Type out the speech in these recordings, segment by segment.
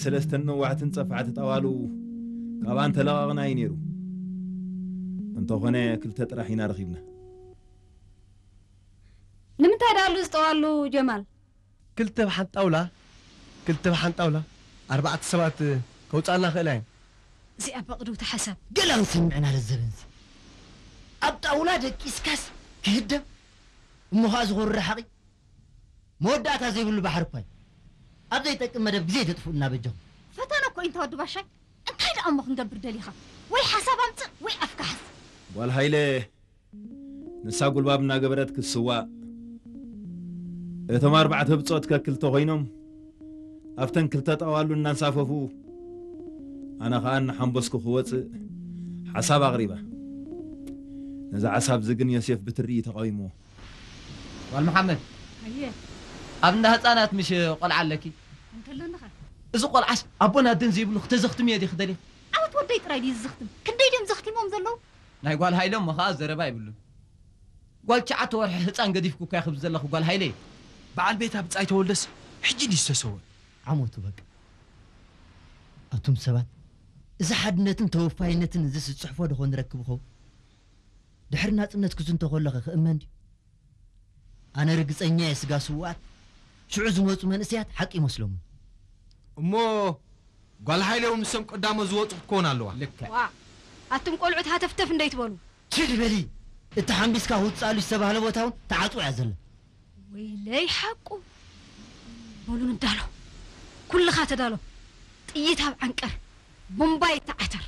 ሰለስተን ነዋሕትን ጸፋዕቲ ጣዋሉ ካብኣን ተለቓቕና እዩ ነይሩ። እንተኾነ ክልተ ጥራሕ ኢና ረኺብና። ንምንታይ ደኣ ኣሉ ዝጠዋሉ ጀማል? ክልተ ብሓንቲ ጣውላ ክልተ ብሓንቲ ጣውላ ኣርባዕተ ሰባት ከውፃልና ክእላ እዮም። እዚኣ በቕድውቲ ሓሳብ። ገለ ክንሰምዕና ለዘበንሲ ኣብ ጣውላ ደቂስካስ ክህደም እሞ ኸዓ ዝኹሪ ሓቒ መወዳእታ ዘይብሉ ባሕሪ እኳ እዩ። ኣብ ዘይጠቅም መደብ ግዜ ተጥፍኡልና በጃኹም። ፈተነ እኮ እዩ እንተ ወዲ ባሻይ። እንታይ ደኣ እሞ ክንገብር ደሊኻ? ወይ ሓሳብ ኣምጽእ ወይ ኣፍካ ሓዝ። ጓል ሃይለ ንሳ ጉልባብ እናገበረት ክትስዋእ፣ እቶም ኣርባዕተ ብጾት ከክልተ ኮይኖም ኣብተን ክልተ ጣዋሉ እናንሳፈፉ፣ ኣነ ኸኣ እናሓንበስኩ ክወጽእ ሓሳብ ኣቕሪባ። ነዛ ሓሳብ እዚ ግን ዮሴፍ ብትሪ እዩ ተቓዊምዎ። ጓል መሓመድ፣ ኣየ ኣብ እንዳ ህፃናት ምሽ ቆልዓ ኣለኪ? እንከለንኻ እዚ ቆልዓስ ኣቦን ኣደን ዘይብሉ ክተዘኽትምዮ ዲኺ ደሊኺ? ዓወት ወደይ ጥራይ ድዩ ዝዝኽትም? ክንደይ ድዮም ዘኽቲሞም ዘለዉ? ናይ ጓል ሃይለ እሞ ኸዓ ዘረባ ይብሉን። ጓል ትሽዓተ ወርሒ ህፃን ገዲፍኩ እኳ ክብል ዘለኹ ጓል ሃይለ። በዓል ቤታ ብጻይ ተወልደስ ሕጂ ድዩ ዝተሰወ? ዓመቱ በቃ። ኣቱም ሰባት፣ እዚ ሓድነትን ተወፋይነትን እዚስ ዝጽሕፎ ዶ ኾን ረክብ ኸውን? ድሕሪ ናጽነት ክዝንቶ ከሎኸ ክእመን ድዩ? ኣነ ርግጸኛ እየ፣ ስጋ ስውኣት ሽዑ ዝመጹ መንእሰያት ሓቂ ይመስሎምን። እሞ ጓል ሓይለ እውን ንሶም ቀዳሞት ዝወጹ ክትከውን ኣለዋ። ልክዕ። ዋእ፣ ኣቱም ቆልዑት ሃተፍተፍ እንደይትበሉ። ችድ በሊ፣ እቲ ሓምቢስካ ክውጽኣሉ ዝተባህለ ቦታ እውን ተዓጽዋ እያ ዘላ። ወይለይ ሓቁ። በሉ ንዳሎ፣ ኩልኻ ተዳሎ። ጥይት ኣብ ዓንቀር፣ ቡምባ ይተዓተር።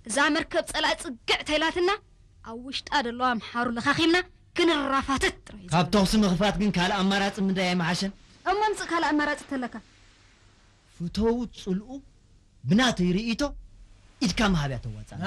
እዛ መርከብ ጸላኢ ጽግዕ ተይላትና፣ ኣብ ውሽጣ ደለዋ ኣምሓሩ ለኻኺምና ክንራፋተት ጥራይ እዩ ካብ ዘለና። ተኹሲ ምኽፋት ግን ካልእ ኣማራጺ ምንዳይ ኣይምሓሸን? እሞ ኣምጽእ ካልእ ኣማራጺ ተለካ። ፍተዉ ጽልኡ ብናተይ ርእይቶ ኢድካ ምሃብ እያ ተዋጽኣና።